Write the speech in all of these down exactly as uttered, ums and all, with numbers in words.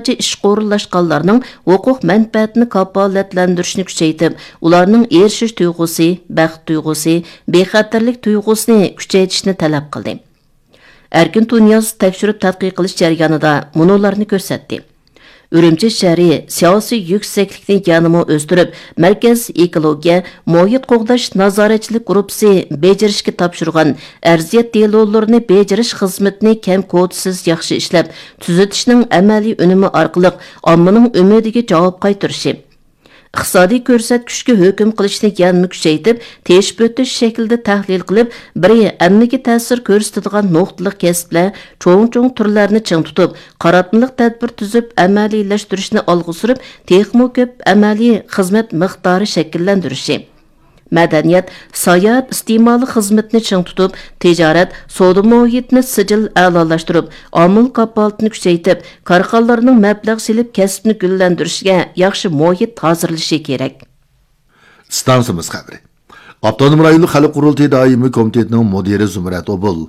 ئىشقا ئورۇنلاشقانلارنىڭ ھوقۇق مەنپەئەتىنى كاپالەتلەندۈرۈشنى كۈچەيتىپ، ئۇلارنىڭ ئېرىشىش تۇيغۇسى، بەخت تۇيغۇسى، بىخەتەرلىك تۇيغۇسىنى كۈچەيتىشنى تەلەپ قىلدى. ئەركىن تۇنىياز تەكشۈرۈپ تەتقىق قىلىش جەريانىدا مۇنۇلارنى كۆرسەتتى. ئۈرۈمچى شەھىرى سىياسىي يۈكسەكلىكنى يەنىمۇ ئۆستۈرۈپ، مەركەز ئېكولوگىيە، مۇھىت قوغداش نازارەتچىلىك گۇرۇپپىسى بېجىرىشكە تاپشۇرغان ئەرزىيەت دېلولىرىنى بېجىرىش خىزمىتىنى كەم كوتىسىز ياخشى ئىشلەپ، تۈزىتىشنىڭ ئەمەلىي ئۈنۈمى ئارقىلىق ئاممىنىڭ ئۈمىدىگە جاۋاب قايتۇرۇشى، ئىقتىسادىي كۆرسەتكۈچكە ھۆكۈم قىلىشنى يەنىمۇ كۈچەيتىپ، تېشىپ ئۆتۈش شەكلىدە تەھلىل قىلىپ، بىرى ئەممىگە تەسىر كۆرسىتىدىغان نۇقتىلىق كەسىپلەر، چوڭ-چوڭ تۈرلەرنى چىڭ تۇتۇپ، قاراتمىلىق تەدبىر تۈزۈپ ئەمەلىيلەشتۈرۈشنى ئالغا سۈرۈپ، تېخىمۇ كۆپ ئەمەلىي خىزمەت مىقدارى شەكىللەندۈرۈشى. مەدەنىيەت، ساياھەت ئىستېمالى خىزمىتىنى چىڭ تۇتۇپ، تىجارەت، سودا مۇھىتىنى سىجىل ئەلالاشتۇرۇپ، ئامىل كاپالىتىنى كۈچەيتىپ، كارخانىلارنىڭ مەبلەغ سېلىپ كەسىپنى گۈللەندۈرۈشىگە ياخشى مۇھىت ھازىرلىشى كېرەك. ئىستانسىمىز خەۋىرى. ئاپتونوم رايونلۇق خەلق قۇرۇلتىيى دائىمىي كومىتېتىنىڭ مۇدىرى زۇمرەت ئوبۇل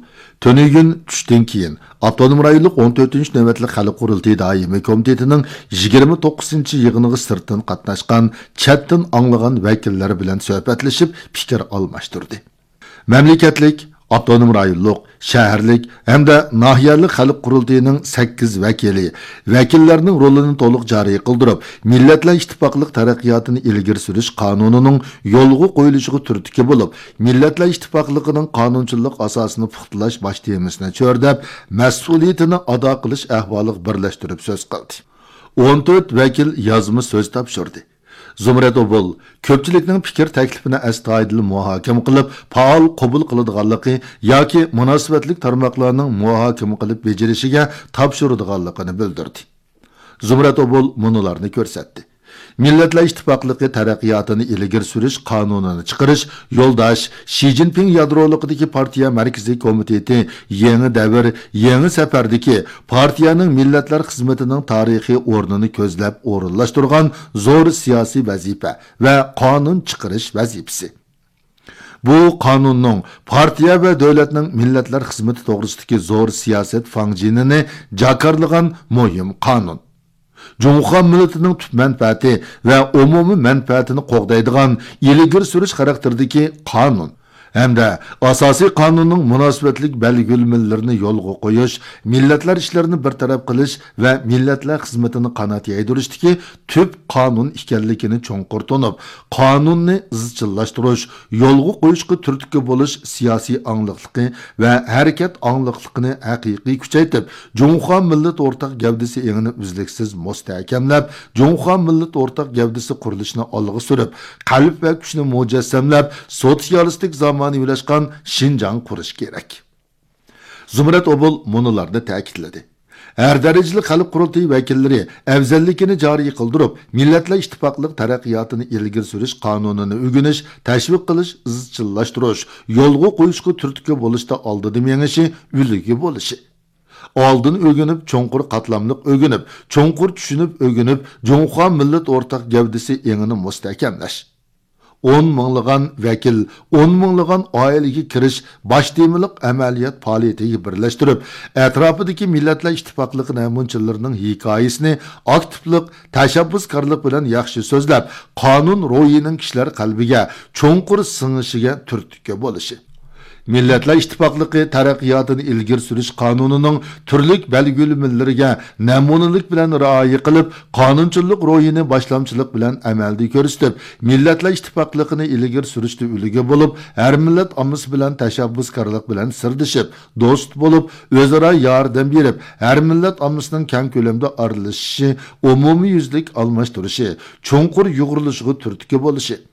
تۈنۈگۈن چۈشتىن كېيىن ئاپتونوم رايونلۇق ئون تۆتىنچى نۆۋەتلىك خەلق قۇرۇلتىيى دائىمىي كومىتېتىنىڭ يىگىرمە توققۇزىنچى يىغىنىغا سىرتتىن قاتناشقان، چەتتىن ئاڭلىغان ۋەكىللەر بىلەن سۆھبەتلىشىپ پىكىر ئالماشتۇردى. مەملىكەتلىك، ئاپتونوم رايونلۇق، شەھەرلىك ھەمدە ناھىيەلىك خەلق قۇرۇلتىيىنىڭ سەككىز ۋەكىلى ۋەكىللەرنىڭ رولىنى تولۇق جارى قىلدۇرۇپ، مىللەتلەر ئىتتىپاقلىق تەرەققىياتىنى ئىلگىرى سۈرۈش قانۇنىنىڭ يولغا قويۇلۇشىغا تۈرتكە بولۇپ، مىللەتلەر ئىتتىپاقلىقىنىڭ قانۇنچىلىق ئاساسىنى پۇختىلاش باش تېمىسىنى چۆرىدەپ، مەسئۇلىيىتىنى ئادا قىلىش ئەھۋالىغا بىرلەشتۈرۈپ سۆز قىلدى. ئون تۆت ۋەكىل يازما سۆز تاپشۇردى. زۇمرەت ئوبۇل كۆپچىلىكنىڭ پىكىر تەكلىپىنى ئەستايىدىل مۇھاكىمە قىلىپ، پائال قوبۇل قىلىدىغانلىقى ياكى مۇناسىۋەتلىك تارماقلارنىڭ مۇھاكىمە قىلىپ بېجىرىشىگە تاپشۇرىدىغانلىقىنى بىلدۈردى. زۇمرەت ئوبۇل مۇنۇلارنى كۆرسەتتى. مىللەتلەر ئىتتىپاقلىقى تەرەققىياتىنى ئىلگىرى سۈرۈش قانۇنىنى چىقىرىش يولداش شى جىنپىڭ يادرولۇقىدىكى پارتىيە مەركىزىي كومىتېتى يېڭى دەۋر، يېڭى سەپەردىكى پارتىيەنىڭ مىللەتلەر خىزمىتىنىڭ تارىخىي ئورنىنى كۆزلەپ ئورۇنلاشتۇرغان زور سىياسىي ۋەزىپە ۋە قانۇن چىقىرىش ۋەزىپىسى. بۇ قانۇننىڭ پارتىيە ۋە دۆلەتنىڭ مىللەتلەر خىزمىتى توغرىسىدىكى زور سىياسەت فاڭجېنىنى جاكارلىغان مۇھىم قانۇن. جۇڭخۇا مىللىتىنىڭ تۈپ مەنپەئەتى ۋە ئومۇمىي مەنپەئەتىنى قوغدايدىغان ئىلگىرى سۈرۈش خاراكتېرىدىكى قانۇن ھەمدە ئاساسىي قانۇننىڭ مۇناسىۋەتلىك بەلگىلىمىلىرىنى يولغا قويۇش، مىللەتلەر ئىشلىرىنى بىر تەرەپ قىلىش ۋە مىللەتلەر خىزمىتىنى قانات يايدۇرۇشتىكى تۈپ قانۇن ئىكەنلىكىنى چوڭقۇر تونۇپ، قانۇننى ئىزچىللاشتۇرۇش، يولغا قويۇشقا تۈرتكە بولۇش سىياسىي ئاڭلىقلىقى ۋە ھەرىكەت ئاڭلىقلىقىنى ھەقىقىي كۈچەيتىپ، جۇڭخۇا مىللەت ئورتاق گەۋدىسى ئېڭىنى ئۈزلۈكسىز مۇستەھكەملەپ، جۇڭخۇا مىللەت ئورتاق گەۋدىسى قۇرۇلۇشىنى ئالغا سۈرۈپ، قەلب ۋە كۈچنى مۇجەسسەملەپ، سوتسىيالىستىك زامانىۋىلاشقان شىنجاڭ قۇرۇش كېرەك. زۇمرەت ئوبۇل مۇنۇلارنى تەكىتلىدى. ھەر دەرىجىلىك خەلق قۇرۇلتىيى ۋەكىللىرى ئەۋزەللىكىنى جارى قىلدۇرۇپ، مىللەتلەر ئىتتىپاقلىق تەرەققىياتىنى ئىلگىرى سۈرۈش قانۇنىنى ئۆگىنىش، تەشۋىق قىلىش، ئىزچىللاشتۇرۇش، يولغا قويۇشقا تۈرتكە بولۇشتا ئالدىدا مېڭىشى، ئۈلگە بولۇشى. ئالدىن ئۆگىنىپ، چوڭقۇر قاتلاملىق ئۆگىنىپ، چوڭقۇر چۈشىنىپ ئۆگىنىپ، جۇڭخۇا مىللەت ئورتاق گەۋدىسى ئېڭىنى مۇستەھكەملەش. ئون مىڭلىغان ۋەكىل، ئون مىڭلىغان ئائىلىگە كىرىش باش تېمىلىق ئەمەلىيەت پائالىيىتىگە بىرلەشتۈرۈپ، ئەتراپىدىكى مىللەتلەر ئىتتىپاقلىقى نەمۇنىچىلىرىنىڭ ھېكايىسىنى ئاكتىپلىق، تەشەببۇسكارلىق بىلەن ياخشى سۆزلەپ، قانۇن روھىنىڭ كىشىلەر قەلبىگە چوڭقۇر سىڭىشىگە تۈرتكە بولۇشى. مىللەتلەر ئىتتىپاقلىقى تەرەققىياتىنى ئىلگىرى سۈرۈش قانۇنىنىڭ تۈرلۈك بەلگىلىمىلىرىگە نەمۇنىلىك بىلەن رىئايە قىلىپ، قانۇنچىللىق روھىنى باشلامچىلىق بىلەن ئەمەلدە كۆرسىتىپ، مىللەتلەر ئىتتىپاقلىقىنى ئىلگىرى سۈرۈشتە ئۈلگە بولۇپ، ھەر مىللەت ئاممىسى بىلەن تەشەببۇسكارلىق بىلەن سىردىشىپ، دوست بولۇپ، ئۆزئارا ياردەم بېرىپ، ھەر مىللەت ئاممىسىنىڭ كەڭ كۆلەمدە ئارىلىشىشى، ئومۇميۈزلۈك ئالماشتۇرۇشى، چوڭقۇر يۇغۇرۇلۇشىغا تۈرتكە بولۇشى.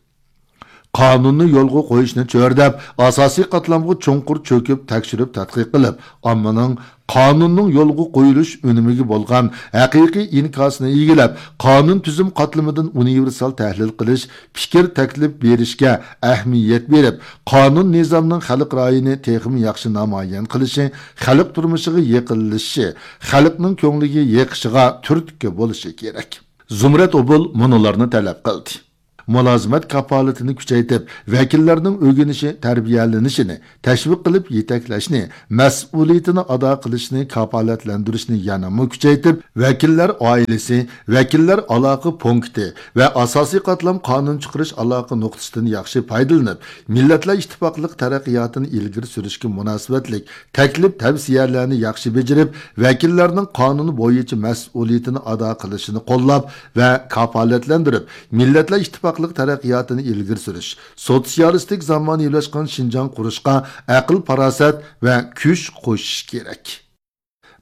قانۇننى يولغا قويۇشنى چۆرىدەپ، ئاساسىي قاتلامغا چوڭقۇر چۆكۈپ، تەكشۈرۈپ تەتقىق قىلىپ، ئاممىنىڭ قانۇننىڭ يولغا قويۇلۇش ئۈنۈمىگە بولغان ھەقىقىي ئىنكاسىنى ئىگىلەپ، قانۇن تۈزۈم قاتلىمىدىن ئۇنىۋېرسال تەھلىل قىلىش، پىكىر تەكلىپ بېرىشكە ئەھمىيەت بېرىپ، قانۇن نىزامنىڭ خەلق رايىنى تېخىمۇ ياخشى نامايان قىلىشى، خەلق تۇرمۇشىغا يېقىنلىشىشى، خەلقنىڭ كۆڭلىگە يېقىشىغا تۈرتكە بولۇشى كېرەك. زۇمرەت ئوبۇل مۇنۇلارنى تەلەپ قىلدى. مۇلازىمەت كاپالىتىنى كۈچەيتىپ، ۋەكىللەرنىڭ ئۆگىنىشى، تەربىيەلىنىشىنى تەشۋىق قىلىپ يېتەكلەشنى، مەسئۇلىيىتىنى ئادا قىلىشنى كاپالەتلەندۈرۈشنى يەنىمۇ كۈچەيتىپ، ۋەكىللەر ئائىلىسى، ۋەكىللەر ئالاقە پونكىتى ۋە ئاساسىي قاتلام قانۇن چىقىرىش ئالاقە نۇقتىسىدىن ياخشى پايدىلىنىپ، مىللەتلەر ئىتتىپاقلىق تەرەققىياتىنى ئىلگىرى سۈرۈشكە مۇناسىۋەتلىك تەكلىپ تەۋسىيەلەرنى ياخشى بېجىرىپ، ۋەكىللەرنىڭ قانۇن بويىچە مەسئۇلىيىتىنى ئادا قىلىشىنى قوللاپ ۋە كاپالەتلەندۈرۈپ، مىللەتلەر ئىتتىپاقلىق تەرەققىياتىنى ئىلگىرى سۈرۈش، سوتسىيالىستىك زامانىۋىلاشقان شىنجاڭ قۇرۇشقا ئەقىل-پاراسەت ۋە كۈچ قوشۇش كېرەك.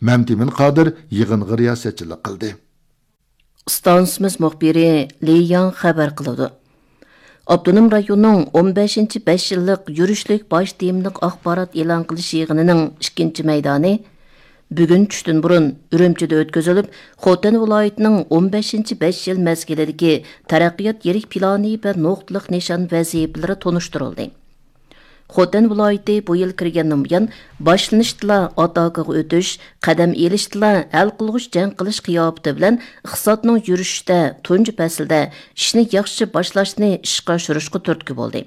مەمتىمىن قادىر يىغىنغا رىياسەتچىلىك قىلدى. ئىستانسىمىز مۇخبىرى لى ياڭ خەۋەر قىلىدۇ. ئاپتونوم رايوننىڭ ئون بەشىنچى بەش يىللىق يۈرۈشلۈك باش تېمىلىق ئاخبارات ئېلان قىلىش يىغىنىنىڭ ئىككىنچى مەيدانى بۈگۈن چۈشتىن بۇرۇن ئۈرۈمچىدە ئۆتكۈزۈلۈپ، خوتەن ۋىلايىتىنىڭ ئون بەشىنچى بەش يىل مەزگىلىدىكى تەرەققىيات يىرىك پىلانى ۋە نۇقتىلىق نىشان ۋەزىپىلىرى تونۇشتۇرۇلدى. خوتەن ۋىلايىتى بۇ يىل كىرگەندىن بۇيان، باشلىنىشتىلا ئاتاكىغا ئۆتۈش، قەدەم ئېلىشتىلا ھەل قىلغۇچ جەڭ قىلىش قىياپىتى بىلەن ئىقتىسادنىڭ يۈرۈشىشىدە تۇنجى پەسىلدە ئىشنى ياخشى باشلاشنى ئىشقا ئاشۇرۇشقا تۈرتكە بولدى.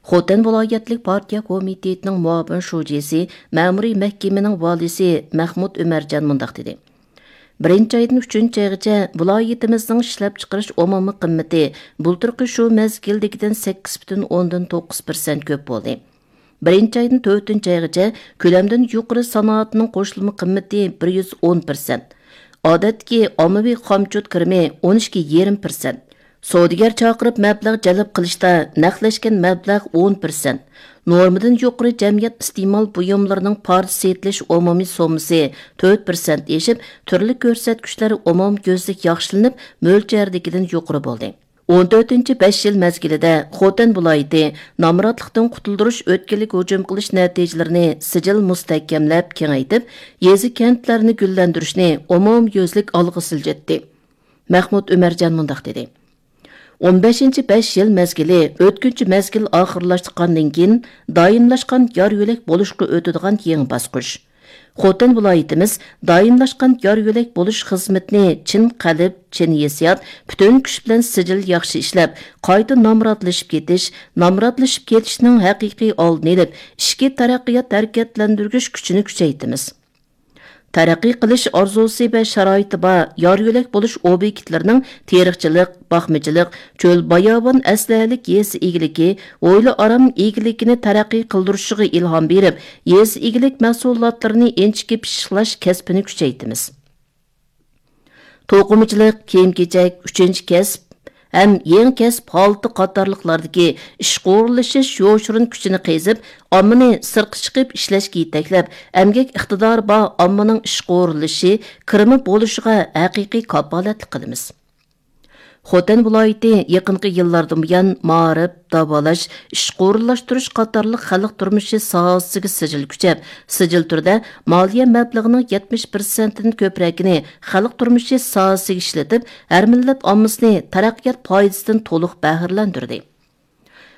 خوتەن ۋىلايەتلىك پارتىيە كومىتېتىنىڭ مۇئاۋىن شۇجىسى، مەمۇرىي مەھكىمىنىڭ ۋالىيسى مەخمۇت ئۆمەرجان مۇنداق دېدى: بىرىنچى ئايدىن ئۈچىنچى ئايغىچە ۋىلايىتىمىزنىڭ ئىشلەپچىقىرىش ئومۇمىي قىممىتى بۇلتۇرقى شۇ مەزگىلدىكىدىن سەككىز پۈتۈن ئوندىن توققۇز پىرسەنت كۆپ بولدى. بىرىنچى ئايدىن تۆتىنچى ئايغىچە كۆلەمدىن يۇقىرى سانائەتنىڭ قوشۇلما قىممىتى بىر يۈز ئون پىرسەنت، ئادەتتىكى ئاممىۋى خامچوت كىرىمى ئون ئىككى يېرىم پىرسەنت، سودىگەر چاقىرىپ مەبلەغ جەلپ قىلىشتا نەقلەشكەن مەبلەغ ئون پىرسەنت، نورمىدىن يۇقىرى جەمئىيەت ئىستېمال بۇيۇملىرىنىڭ پارچە سېتىلىش ئومۇمىي سوممىسى تۆت پىرسەنت ئېشىپ، تۈرلۈك كۆرسەتكۈچلەر ئومۇميۈزلۈك ياخشىلىنىپ، مۆلچەردىكىدىن يۇقىرى بولدى. ئون تۆتىنچى بەش يىل مەزگىلىدە خوتەن ۋىلايىتى نامراتلىقتىن قۇتۇلدۇرۇش ئۆتكىلىگە ھۇجۇم قىلىش نەتىجىلىرىنى سىجىل مۇستەھكەملەپ كېڭەيتىپ، يېزا، كەنتلەرنى گۈللەندۈرۈشنى ئومۇميۈزلۈك ئالغا سىلجىتتى. مەخمۇت ئۆمەرجان مۇنداق دېدى: ئون بەشىنچى بەش يىل مەزگىلى ئۆتكۈنچى مەزگىل ئاخىرلاشقاندىن كېيىن، دائىملاشقان يار يۆلەك بولۇشقا ئۆتىدىغان يېڭى باسقۇچ. خوتەن ۋىلايىتىمىز دائىملاشقان يار يۆلەك بولۇش خىزمىتىنى چىن قەلب، چىن ھېسسىيات، پۈتۈن كۈچ بىلەن سىجىل ياخشى ئىشلەپ، قايتا نامراتلىشىپ كېتىش، نامراتلىشىپ كېتىشنىڭ ھەقىقىي ئالدىنى ئېلىپ، ئىچكى تەرەققىيات ھەرىكەتلەندۈرگۈچ كۈچىنى كۈچەيتىمىز. تەرەققىي قىلىش ئارزۇسى ۋە شارائىتى بار يار يۆلەك بولۇش ئوبيېكتلىرىنىڭ تېرىقچىلىق، باقمىچىلىق، چۆل باياۋان ئەسلىھەلىك يېزا ئىگىلىكى، ھويلا ئارام ئىگىلىكىنى تەرەققىي قىلدۇرۇشىغا ئىلھام بېرىپ، يېزا ئىگىلىك مەھسۇلاتلىرىنى ئىنچىكە پىششىقلاش كەسپىنى كۈچەيتىمىز. توقۇمىچىلىق، كىيىم-كېچەك، ئۈچىنچى كەسىپ ھەم يېڭى كەسىپ ھالىتى قاتارلىقلاردىكى ئىشقا ئورۇنلىشىش يوشۇرۇن كۈچىنى قېزىپ، ئاممىنى سىرتقا چىقىپ ئىشلەشكە يېتەكلەپ، ئەمگەك ئىقتىدارى بار ئاممىنىڭ ئىشقا ئورۇنلىشىشى، كىرىمى بولۇشىغا ھەقىقىي كاپالەتلىك قىلىمىز. خوتەن ۋىلايىتى يېقىنقى يىللاردىن بۇيان مائارىپ، داۋالاش، ئىشقا ئورۇنلاشتۇرۇش قاتارلىق خەلق تۇرمۇشى ساھەسىگە سىجىل كۈچەپ، سىجىل تۈردە مالىيە مەبلىغىنىڭ يەتمىش پىرسەنتتىن كۆپرەكىنى خەلق تۇرمۇشى ساھەسىگە ئىشلىتىپ، ھەر مىللەت ئاممىسىنى تەرەققىيات پايدىسىدىن تولۇق بەھرىلەندۈردى.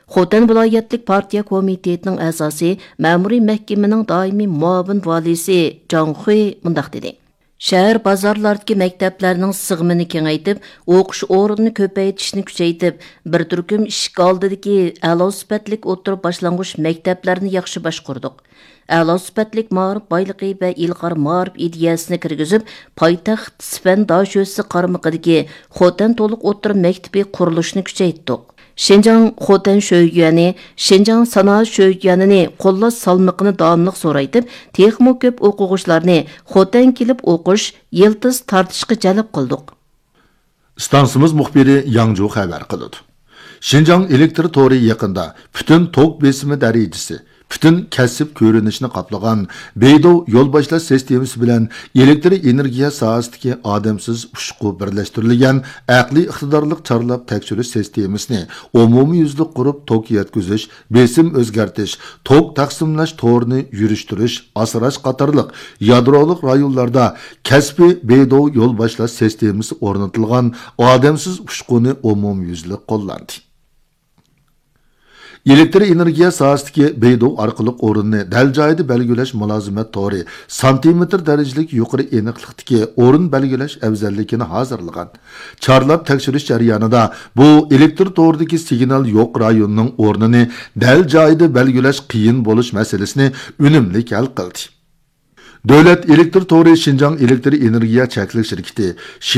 خوتەن ۋىلايەتلىك پارتىيە كومىتېتىنىڭ ئەزاسى، مەمۇرىي مەھكىمىنىڭ دائىمىي مۇئاۋىن ۋالىيسى جاڭ خۇي مۇنداق دېدى: شەھەر، بازارلاردىكى مەكتەپلەرنىڭ سىغىمىنى كېڭەيتىپ، ئوقۇش ئورنىنى كۆپەيتىشنى كۈچەيتىپ، بىر تۈركۈم ئىشىك ئالدىدىكى ئەلا سۈپەتلىك ئوتتۇرا باشلانغۇچ مەكتەپلەرنى ياخشى باشقۇردۇق. ئەلا سۈپەتلىك مائارىپ بايلىقى ۋە ئىلغار مائارىپ ئىدىيەسىنى كىرگۈزۈپ، پايتەخت سىفەن داشۆسى قارمىقىدىكى خوتەن تولۇق ئوتتۇرا مەكتىپى قۇرۇلۇشىنى كۈچەيتتۇق. شىنجاڭ خوتەن شۆيۈەنى، شىنجاڭ سانائەت شۆيۈەنىنى قوللاش سالمىقىنى داۋاملىق زورايتىپ، تېخىمۇ كۆپ ئوقۇغۇچىلارنى خوتەنگە كېلىپ ئوقۇش، يىلتىز تارتىشقا جەلپ قىلدۇق. ئىستانسىمىز مۇخبىرى ياڭجۇ خەۋەر قىلىدۇ. شىنجاڭ ئېلېكتر تورى يېقىندا پۈتۈن توك بېسىمى دەرىجىسى، پۈتۈن كەسىپ كۆرۈنۈشىنى قاپلىغان بېيدوۋ يول باشلاش سىستېمىسى بىلەن ئېلېكتر ئېنېرگىيە ساھەسىدىكى ئادەمسىز ئۇچقۇ بىرلەشتۈرۈلگەن ئەقلىي ئىقتىدارلىق چارلاپ تەكشۈرۈش سىستېمىسىنى ئومۇميۈزلۈك قۇرۇپ، توك يەتكۈزۈش، بېسىم ئۆزگەرتىش، توك تەقسىملەش تورىنى يۈرۈشتۈرۈش، ئاسراش قاتارلىق يادرولۇق رايونلاردا كەسپىي بېيدوۋ يول باشلاش سىستېمىسى ئورنىتىلغان ئادەمسىز ئۇچقۇنى ئومۇميۈزلۈك قوللاندى. ئېلېكتر ئېنېرگىيە ساھەسىدىكى بېيدۇ ئارقىلىق ئورۇننى دەل جايىدا بەلگىلەش مۇلازىمەت تورى سانتىمېتىر دەرىجىلىك يۇقىرى ئېنىقلىقتىكى ئورۇن بەلگىلەش ئەۋزەللىكىنى ھازىرلىغان. چارلاپ تەكشۈرۈش جەريانىدا بۇ ئېلېكتر تورىدىكى سىگنال يوق رايوننىڭ ئورنىنى دەل جايىدا بەلگىلەش قىيىن بولۇش مەسىلىسىنى ئۈنۈملۈك ھەل قىلدى. دۆلەت ئېلېكتر تورى شىنجاڭ ئېلېكتر ئېنېرگىيە چەكلىك شىركىتى، شىن